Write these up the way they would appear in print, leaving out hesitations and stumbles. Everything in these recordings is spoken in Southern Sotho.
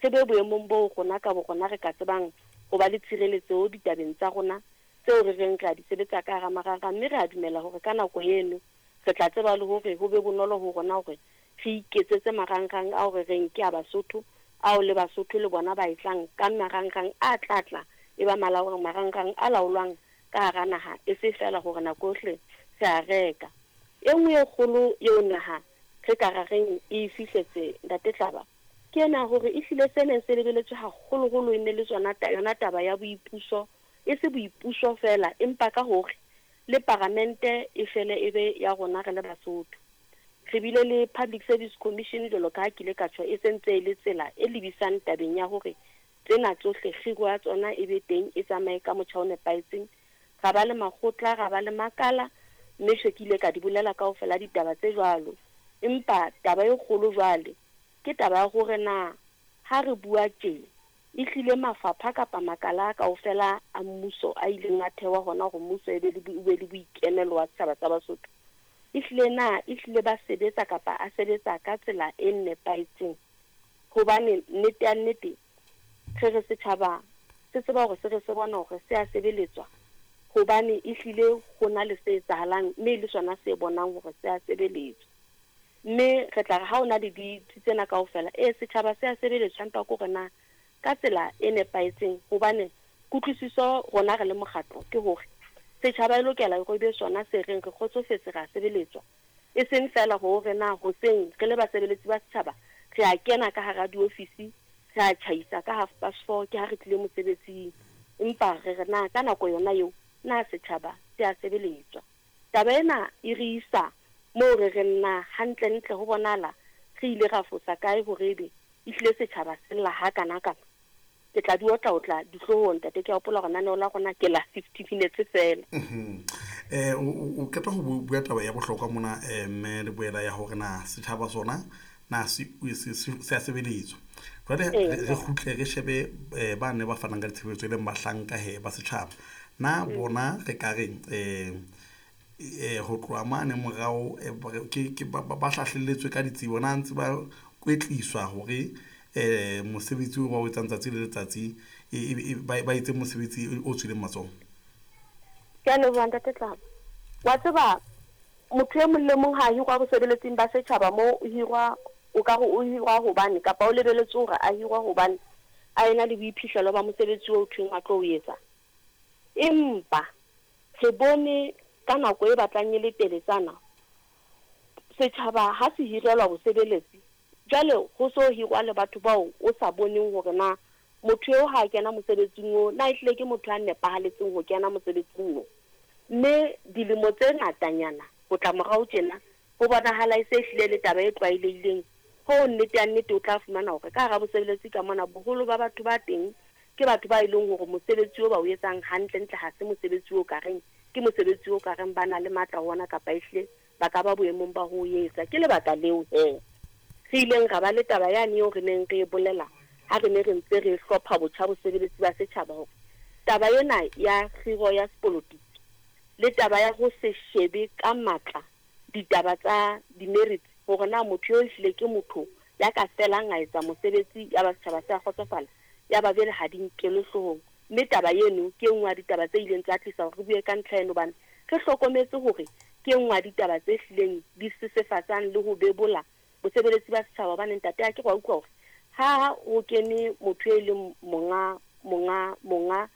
Re be boemong boo rona ka borona re ka tsebang ho ba le tshireletseho ditabeng tsa rona tseo re reng re a di sebetsa ka hara marangrang mme re a dumela hore ka nako eno re tla tseba le hore ho be bonolo ho rona hore re iketsetse marangrang ao re reng ke a Basotho ao le Basotho le bona ba e tlang ka marangrang a tla tla e ba marangrang a laolwang ka hara naha e se feela hore nako yohle re a reka. E nngwe e kgolo eo naha re ka ra reng e e fihletse Ntate Tlaba ke ena hore ehlile se neng se lebeletswe haholoholo e ne le tsona yona taba ya boipuso, e se boipuso feela empa ka hore le paramente e fele e be ya rona re le Basotho. Re bile le Public Service Commission jwalo ka ha ke ile ka tjho e se ntse e le tsela e lebisang tabeng ya hore tsena tsohle kgiro ya tsona e be teng e tsamaye ka motjha o nepahetseng. Ra ba le makgotla, ra ba le makala mme tjhe ke ile ka di bolela kaofela ditaba tse jwalo. Empa taba e kgolo jwale ke taba ya hore na ha re bua tje ehlile mafapha kapa makala kaofela a mmuso a ileng a thewa hona hore mmuso e be le o be le boikemelo wa setjhaba sa Basotho, ehlile na ehlile ba sebetsa kapa a sebetsa ka tsela e nepahetseng? Hobane nnete ya nnete re re setjhaba se tseba hore se re se bona hore se a sebeletswa hobane ehlile ho na le se etsahalang mme e le sona se bonang hore se a sebeletswa. Mme re tla re ha ho na le ditsi tsena kaofela, ee, setjhaba se a sebeletswa empa ke hore na ka tsela e nepahetseng hobane kutlwisiso rona re le mokgatlo ke hore setjhaba e lokela hore e be sona se reng re kgotsofetse re a sebeletswa. E seng feela hore na hoseng re le basebeletsi ba setjhaba re a kena ka hara diofisi re a tjhaisa ka half past four ke ha re tlile mosebetsing empa re re na ka nako yona eo na setjhaba se a sebeletswa. Taba ena e re isa moo re reng na hantlentle ho bonahala re ile ra fosa kae hore ebe ehlile setjhaba se lla hakanakana? Ke tla di otlaotla dihloohong, Ntate. Ke a hopola hore naneo la rona ke la 50 minutes feela. O qeta ho bua taba ya bohlokwa mona, mme le boela ya hore na setjhaba sona na se a sebeletswa. Jwale re kgutle re shebe ba ne ba fanang ka ditshebeletso e leng bahlanka he ba setjhaba. Na bona re ka reng ho tloha mane morao ke ba hlahlelletswe ka ditsebo, na ntse ba kwetliswa hore mosebetsi o ba o etsang tsatsi le letsatsi ba etse mosebetsi o tswileng matsoho? Ke a leboha Ntate Tlabo. Wa tseba motho e mong le mong ha a hirwa bosebeletsing ba setjhaba moo o hirwa o ka re o hirwa hobane kapa o lebeletswe hore a hirwe hobane a ena le boiphihlelo ba mosebetsi oo thweng a tlo o etsa. Empa re bone ka nako e batlang e le teletsana setjhaba ha se hirelwa bosebeletsi jwale ho so hirwa le batho bao o sa boneng hore na motho eo ha a kena mosebetsing oo na ehlile ke motho a nepahaletseng ho kena mosebetsing oo. Mme dilemo tse ngatanyana ho tla morao tjena ho bonahala e se ehlile e le taba e tlwaelehileng hoo nnete ya nnete o tla fumana hore ka hara bosebeletsi ka mona boholo ba batho ba teng ke batho ba e leng hore mosebetsi o ba o etsang hantlentle ha se mosebetsi o ka reng ke mosebetsi o ka reng ba na le matla ho ona kapa ehlile ba ka ba boemong ba ho o etsa. Ke lebaka leo he re ileng ra ba le taba yane eo re neng re e bolela ha re ne re ntse re hlopha botjha bosebeletsi ba setjhaba hore taba ena ya kgiro ya sepolotiki le taba ya ho se shebe ka matla ditaba tsa di-merits hore na motho eo ehlile ke motho ya ka felang a etsa mosebetsi ya ba setjhaba se a kgotsofala ya ba jwale ha di nkelwe hloohong. Mme taba eno ke e nngwe ya ditaba tse ileng tsa tlisa hore re bue ka ntlha eno hobane re hlokometse hore ke e nngwe ya ditaba tse hlileng di sesefatsang le ho bebola bosebeletsi ba setjhaba hobane ntate akere wa utlwa hore ha ho kene motho e leng monga monga monga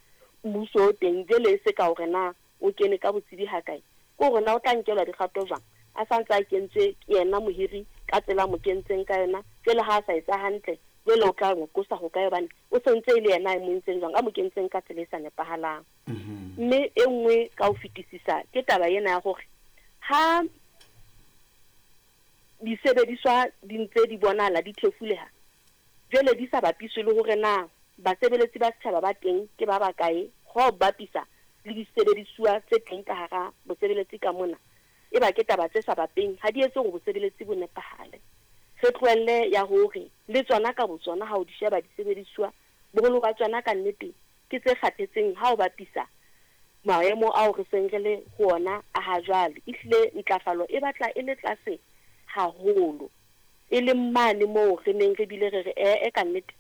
mmuso o teng jwale e se ka hore na o kene ka botsebi hakae ke hore na o tla nkelwa dikgato jwang a sa ntse a kentswe ke yena mohiri ka tsela a mo kentseng ka yona jwale ha a sa etsa hantle jwale o tla mo qosa hokae hobane o se ntse e le yena a mo entseng jwang a mo kentseng ka tsela e sa nepahalang. Mme e nngwe ka ho fetisisa ke taba ena ya hore ha disebediswa di ntse di bonahala di thefuleha jwale di sa bapiswe le hore na basebeletsi ba setjhaba ba teng ke ba bakae ho bapisa le disebedisuwa tse teng ka hara bosebeletsi ka mona e ba ke taba tse sa bapeng ha di etse hore bosebeletsi bo nepahale. Re tlohelle ya hore le tsona ka botsona ha o di sheba disebedisuwa boholo ba tsona ka nnete ke tse kgathetseng ha o bapisa maemo ao re seng re le ho ona a ha jwale. Ehlile ntlafalo e batla e le tlase haholo, e leng mane moo re neng re bile re re ee ka nnete